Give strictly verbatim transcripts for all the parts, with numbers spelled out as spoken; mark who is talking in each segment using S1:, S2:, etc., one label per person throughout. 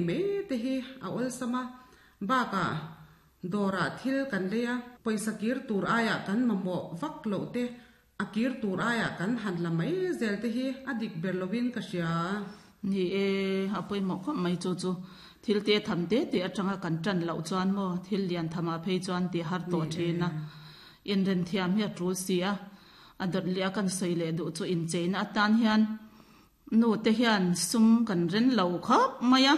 S1: mai te hi a awlsam a, bakah dawrah thil kan lei a, pawisa kir tur aiah kan mamawh vak loh te, a kir tur aiah kan han la mai zel te hi a dik ber lovin ka hria.
S2: Ni e, a pawimawh khawp mai chu chu thil te tham te te atanga kan tan loh chuan maw thil lian thama phei chuan ti har tawh thin a, inren thiam hi a tul si a, a dawt leh a kan sawi leh duh chu incheina atan hian nu te hian sum kan ren lo khawp mai a,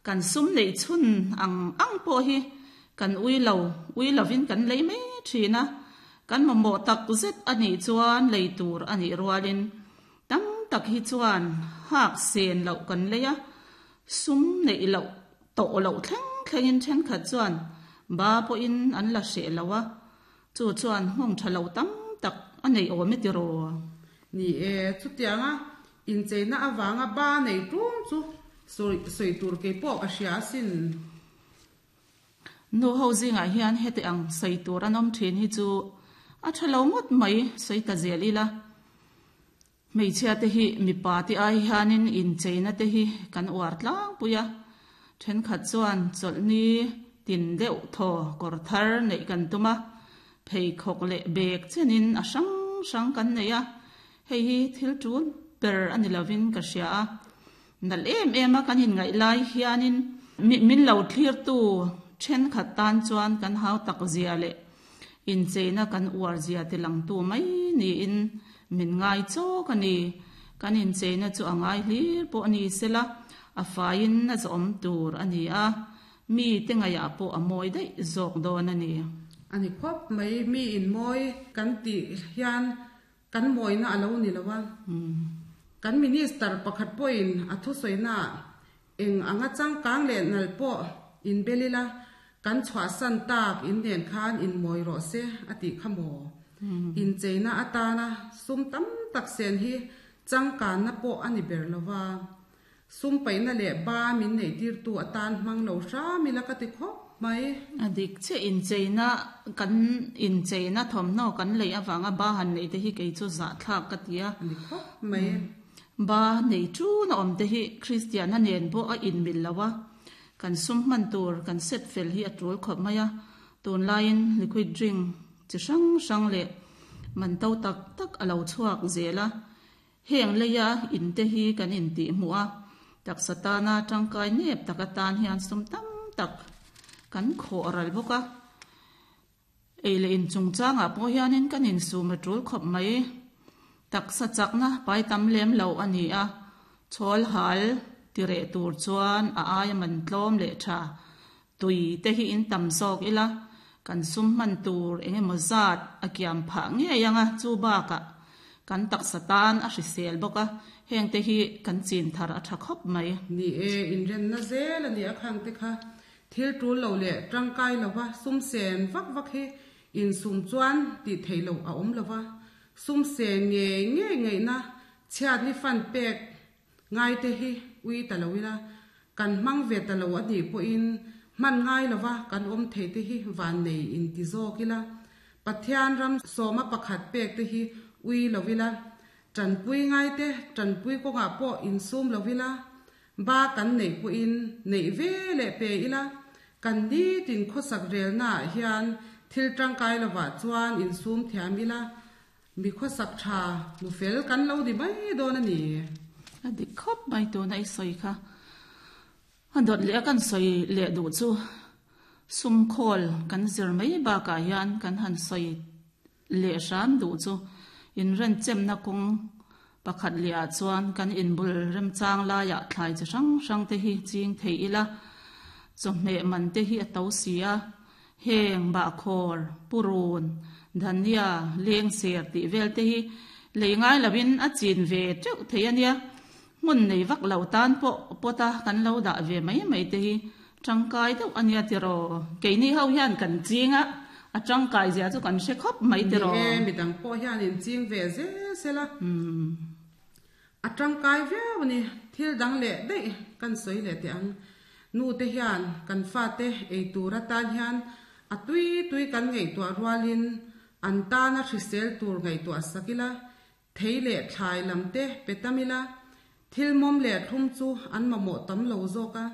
S2: kan sum neih chhun ang ang pawh hi kan ui lo ui lovin kan lei mai thin a, kan mamawh tak zet anih chuan lei tur anih rualin tam tak hi chuan hak sen loh kan lei a, sum neih loh tawh loh thleng thlengin thenkhat chuan ba pawhin an la hreh lo a, chu chuan nghawng tha lo tam tak a nei awm e tiraw.
S1: Ni e, chutianga incheina awanga ba nei tum chu sawi tur ke pawh ka hria sin.
S2: Nu ho zingah hian heti ang sawi tur an awm thin hi chu a tha lo ngawt mai sawi ta zel ila. Hmeichhia te hi mipa te ai hianin incheina te hi kan uar tlangpui a, thenkhat chuan chawlhni tin deuh thaw kawr thar neih kan tum a, pheikhawk leh bag chenin a hrang hrang kan nei a, hei hi thil tul ber ani lovin ka hria a, nal em em a kan inngaih lai hianin min lo thlir tu thenkhat tan chuan kan hau tak zia leh incheina kan uar zia te lang tu mai niin min ngai chawk ani. Kan incheina chu a ngai hlir pawh ani sela, a faiin a zawm tur ani a, mi te ngaiah pawh a mawi daih zawk dawn ani.
S1: Ani khawp mai mi in mawi kan ti hian kan mawina a lo ni lo a. Kan minister pakhat pawhin a thu sawina eng anga changkang leh nal pawh in belila kan chhuah san tak in nen khan in mawi rawh se a tih kha maw. Incheina atana sum tam tak sen hi changkanna pawh ani ber lova, sum paihna leh ba min nei tir tu atan hmang lo hram ila ka ti khawp mai.
S2: A dik che incheina kan incheina thawmhnaw kan lei awanga ba han nei te hi kei chu zah thlak ka ti a.
S1: Ani khawp mai.
S2: Ba nei chu na awm te hi Christian a nen pawh a inmil lo a, kan sum hman tur kan set fel hi a tul khawp mai a, tun laiin liquid drink chi hrang hrang leh man to tak tak a lo chhuak zel a, heng leia in te hi kan in tih hmuh a, taksa tana tangkai nep tak atan hian sum tam tak kan khawh ral bawk a, ei leh in chungchangah pawh hianin kan insum a tul khawp mai. Taksa chakna pai tam lem lo ani a, chhawl hal tireh tur chuan a aia man tlawm leh tha tui te hi in tam zawk ila, kan sum hman tur engemaw zat a kiam phah ngei anga chu bakah kan taksa tan a hrisel bawk a, heng te hi kan chin thar a tha khawp mai.
S1: Ni e, inrenna zel ani a khang te kha thil tul lo leh tangkai lova sum sen vak vak hi insum chuan ti thei lo a awm lova, sum sen nge nge ngei na chhiat ni fan pek ngai te hi ui ta lo ila, kan hmang ve ta lo ani pawhin man ngai lova kan awm thei te hi van nei in ti zawk ila, Pathian ram sawma pakhat pek te hi ui lovila, tanpui ngai te tanpui kawngah pawh insum lovila, ba kan nei pawhin nei ve leh pe ila, kan ni tin khawsak relna ah hian thil tangkai lova chuan insum thiam ila, mi khawsak tha nu fel kan lo ni mai dawn ani.
S2: A dik khawp mai tuna i sawi kha. A dawt leh a kan sawi leh duh chu sum khawl kan zir mai bakah hian kan han sawi leh hram duh chu inren chemna kawng pakhat leh ah chuan kan inbul remchang laiah thlai chi hrang hrang te hi ching thei ila, chawhmeh man te hi a to si a, heng bahkhawr purun dhania leng ser tih vel te hi lei ngai lovin a chin ve teuh thei ania, hmun nei vak lo tan pawh pawta kan lo dah ve mai mai te hi tangkai deuh ania tiraw. Keini ho hian kan chinga a tangkai zia chu kan hre khawp mai tiraw.
S1: Ni e, midang pawh hian in ching ve zel sela. A tangkai viau ani, thil dang leh daih kan sawi leh teh ang. Nu te hian kan fa te ei tur atan hian a tui tui kan ngaihtuah rualin an tana hrisel tur ngaihtuah sakila, thei leh thlai lam te pe tamila, thil mawm leh thlum chu an mamawh tam lo zawk a,